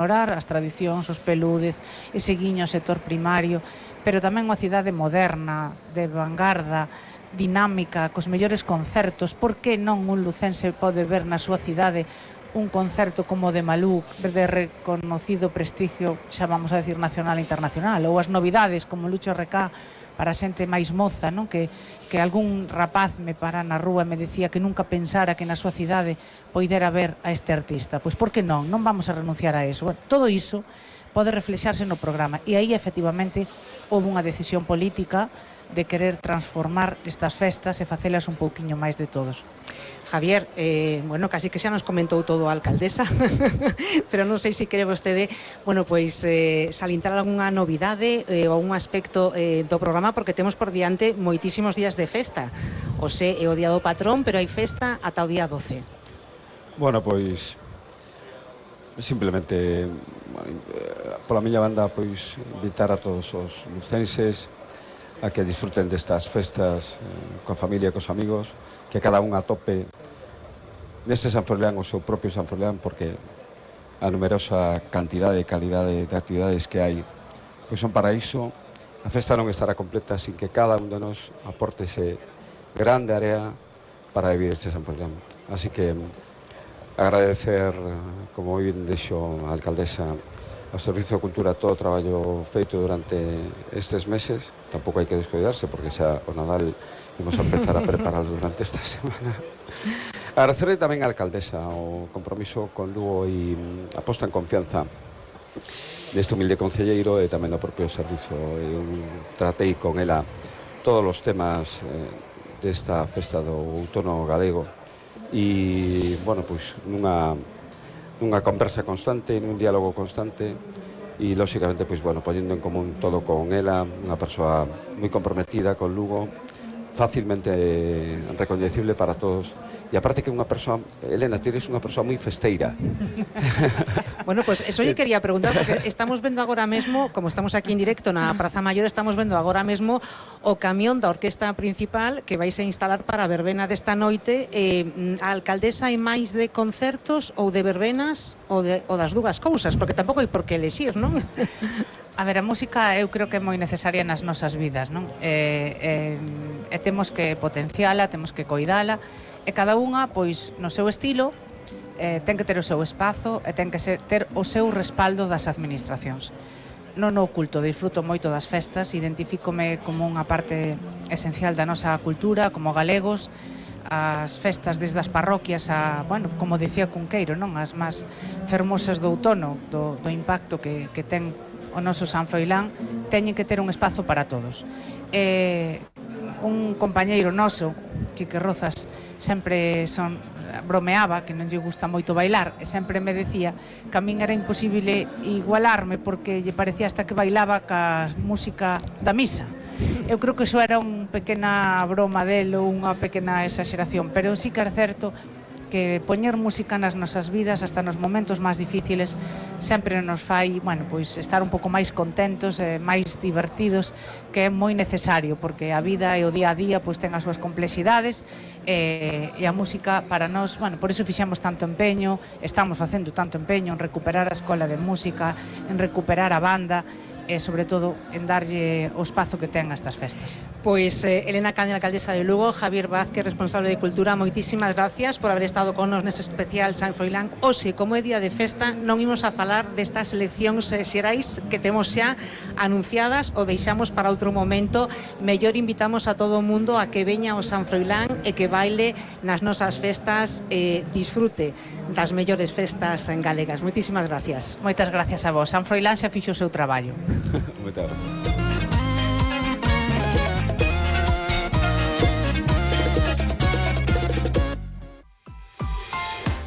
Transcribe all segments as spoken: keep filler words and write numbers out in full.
ignorar as tradicións, os pelúdez, ese guiño ao sector primario, pero tamén unha cidade moderna, de vanguarda, dinámica, cos mellores concertos. Por que non un lucense pode ver na súa cidade un concerto como o de Malú, de reconocido prestigio, xa vamos a decir nacional e internacional, ou as novidades como Lucho R K para a xente máis moza, non? Que, que algún rapaz me para na rúa e me decía que nunca pensara que na súa cidade poidera ver a este artista. Pois por que non? Non vamos a renunciar a eso. Bueno, todo iso pode reflexarse no programa, e aí efectivamente houve unha decisión política de querer transformar estas festas e facelas un pouquiño máis de todos. Javier, eh, bueno, casi que xa nos comentou todo a alcaldesa, pero non sei se quere vostede, bueno, pois eh, salintar algunha novidade eh, ou un aspecto eh, do programa, porque temos por diante moitísimos días de festa. O sé, é o día do patrón, pero hai festa ata o día doce. Bueno, pois simplemente bueno, pola miña banda pois invitar a todos os lucenses a que disfruten destas festas eh, coa familia e cos amigos, que cada un atope neste San Froilán o seu propio San Froilán, porque a numerosa cantidade e calidade de actividades que hai pois son para iso. A festa non estará completa sin que cada un de nós aporte ese grande área para vivir este San Froilán. Así que agradecer, como bien dixo a alcaldesa, ao Servicio de Cultura todo o traballo feito durante estes meses. Tampouco hai que descuidarse, porque xa o Nadal imos a empezar a prepararlo durante esta semana. Agradecerle tamén á alcaldesa o compromiso con Lugo e a posta en confianza deste humilde concelleiro e tamén do propio servizo. Eu tratei con ela todos os temas eh, desta festa do outono galego e, bueno, pois nunha unha conversa constante, nun diálogo constante e, lóxicamente, pois, bueno, poñendo en común todo con ela, unha persoa moi comprometida con Lugo, fácilmente recoñecible para todos. E aparte que unha persoa, Elena, ti eres unha persoa moi festeira. Bueno, pues eso yo quería preguntar, porque estamos vendo agora mesmo, como estamos aquí en directo na Praza Maior, estamos vendo agora mesmo o camión da orquesta principal que vais a instalar para a verbena desta noite. Eh, a alcaldesa hai máis de concertos ou de verbenas ou, de, ou das dúas cousas, porque tampouco hai por que elexir, non? A ver, a música eu creo que é moi necesaria nas nosas vidas, non? E, e, e temos que potenciala, temos que coidala, e cada unha, pois, no seu estilo, eh, ten que ter o seu espazo e ten que ser, ter o seu respaldo das administracións. Non o oculto, disfruto moito das festas, identifícome como unha parte esencial da nosa cultura, como galegos, as festas desde as parroquias a, bueno, como dicía Cunqueiro, non? As máis fermosas do outono, do, do impacto que, que ten o noso San Froilán, teñen que ter un espazo para todos. Eh, un compañeiro noso, Quique Rozas, sempre son, bromeaba que non lle gusta moito bailar e sempre me decía que a min era imposible igualarme porque lle parecía hasta que bailaba ca música da misa. Eu creo que iso era unha pequena broma del ou unha pequena exageración, pero sí que é certo que poñer música nas nosas vidas hasta nos momentos máis difíciles sempre nos fai, bueno, pois estar un pouco máis contentos e máis divertidos, que é moi necesario, porque a vida e o día a día pois ten as súas complexidades e, e a música para nós, bueno, por iso fixemos tanto empeño, estamos facendo tanto empeño en recuperar a escola de música, en recuperar a banda e, sobre todo, en darlle o espazo que ten a estas festas. Pois eh, Elena Caña, alcaldesa de Lugo, Javier Vázquez, responsable de Cultura, moitísimas gracias por haber estado con nos neste especial San Froilán. Oxe, como é día de festa, non imos a falar destas eleccións eh, xerais que temos xa anunciadas ou deixamos para outro momento. Mellor invitamos a todo o mundo a que veña ao San Froilán e que baile nas nosas festas, eh, disfrute das mellores festas en galegas. Moitísimas gracias. Moitas gracias a vos. San Froilán xa fixo o seu traballo. Moitas gracias.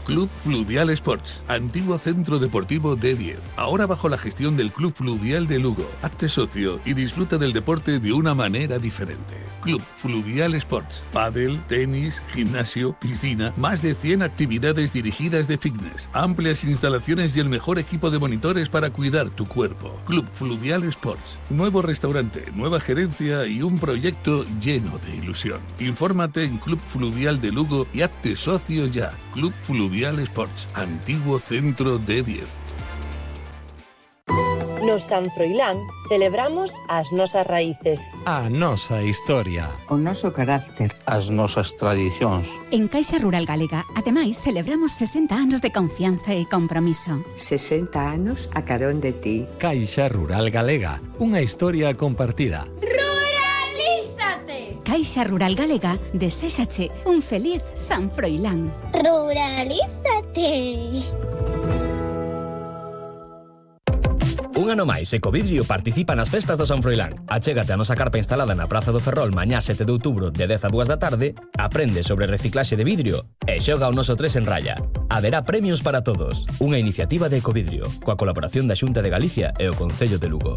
Club Fluvial Sports, antiguo centro deportivo D diez, ahora bajo la gestión del Club Fluvial de Lugo. Hazte socio y disfruta del deporte de una manera diferente. Club Fluvial Sports, pádel, tenis, gimnasio, piscina, más de cien actividades dirigidas de fitness, amplias instalaciones y el mejor equipo de monitores para cuidar tu cuerpo. Club Fluvial Sports, nuevo restaurante, nueva gerencia y un proyecto lleno de ilusión. Infórmate en Club Fluvial de Lugo y hazte socio ya. Club Fluvial Sports, antiguo centro D diez. No San Froilán celebramos as nosas raíces. A nosa historia. O noso carácter. As nosas tradicións. En Caixa Rural Galega, ademais, celebramos sesenta anos de confianza e compromiso. sesenta anos a carón de ti. Caixa Rural Galega, unha historia compartida. ¡Ruralízate! Caixa Rural Galega deséxache un feliz San Froilán. Ruralízate! Un ano máis, Ecovidrio participa nas festas do San Froilán. Achégate a nosa carpa instalada na Praza do Ferrol mañá sete de outubro de dez a dúas da tarde, aprende sobre reciclaxe de vidrio e xoga o noso tres en raya. Haberá premios para todos. Unha iniciativa de Ecovidrio, coa colaboración da Xunta de Galicia e o Concello de Lugo.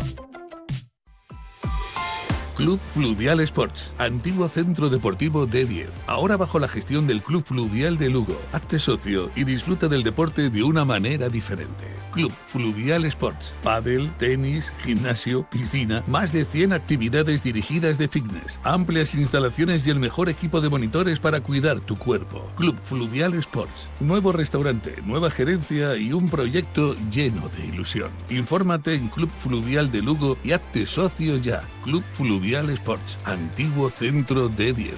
Club Fluvial Sports, antiguo centro deportivo D diez. Ahora bajo la gestión del Club Fluvial de Lugo. Hazte socio y disfruta del deporte de una manera diferente. Club Fluvial Sports. Pádel, tenis, gimnasio, piscina, más de cien actividades dirigidas de fitness, amplias instalaciones y el mejor equipo de monitores para cuidar tu cuerpo. Club Fluvial Sports. Nuevo restaurante, nueva gerencia y un proyecto lleno de ilusión. Infórmate en Club Fluvial de Lugo y hazte socio ya. Club Fluvial Sports, antiguo centro D diez.